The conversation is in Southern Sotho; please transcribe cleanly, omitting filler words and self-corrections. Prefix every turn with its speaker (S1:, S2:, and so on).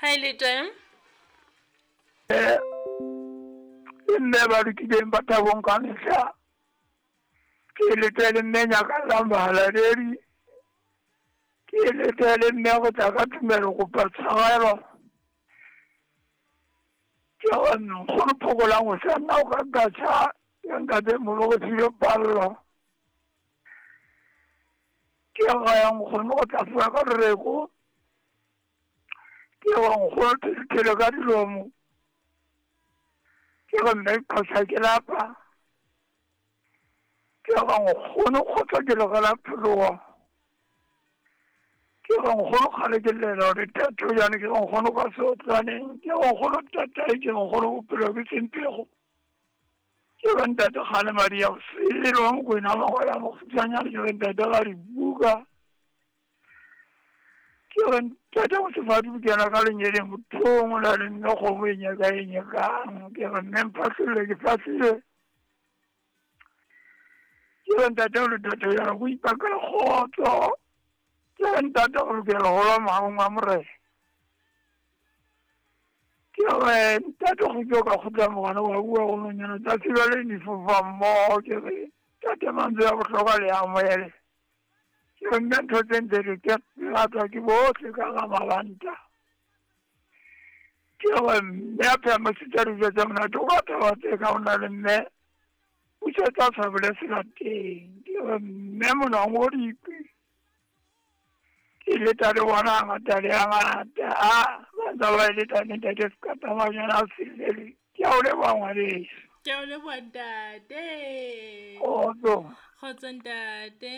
S1: Ha e le teng.
S2: Eh, ke mme ba lokileng ba thabong ka mehla. Ke lete le mme nyakallang bahalaledi. Ke lete le mme go tla ka tumelo kopa tshwarelo. Ke re nkgono phokolang go sa nna o ka nkatsha ya ntate molo go file pallo. Ke re nkgono go tla fiwa ka reko. Ke re nkgono thele ka dilomo. Ke re mme qhosa ke lapa. Ke re nkgono kgotsa ke logela phologo. Ke re nkgono kgale ke llela gore tatho jane ke re nkgono ka seotlaneng. Ke re nkgono tatae ke re nkgono bophelo ke sempego. Ke re ntate kgale madi ya boselo wa Mokwena wa ya mokgutshwanyane ke re ntate ga dibuka. Ke re ntate mosefadi o kena ka lenyeleng bothong o na le mme kgomo e nyaka e nyakang. Ke re mme mphahlole ke fahlile. Ke re ntate o le tate ya go ipakela kgotso. Ke re ntate o lokela go lwa maong a morena. Ke re ntate go tlo ka kgotla mogana wa bua go nonyana tsa tseba le di fofa mmogo. Ke re tate mantswe a bohlokwa le a moele. Ke re mme ntho tse ntse di ke ratwa ke bohle ka ga mabanta. Ke re mme a pheha masitsa dijo tse monate o ka thaba tse ka o na le mme busetsa sabole selateng. Ke re mme monang o dikwi. Ke leta le bona ngata le a ngata. A ba ntse ba leta le ntate Sekata Manyana a Sesele. Ke a o leboha ngwaneso.
S1: Ke a o leboha ntate.
S2: Kgotso.
S1: Kgotso ntate.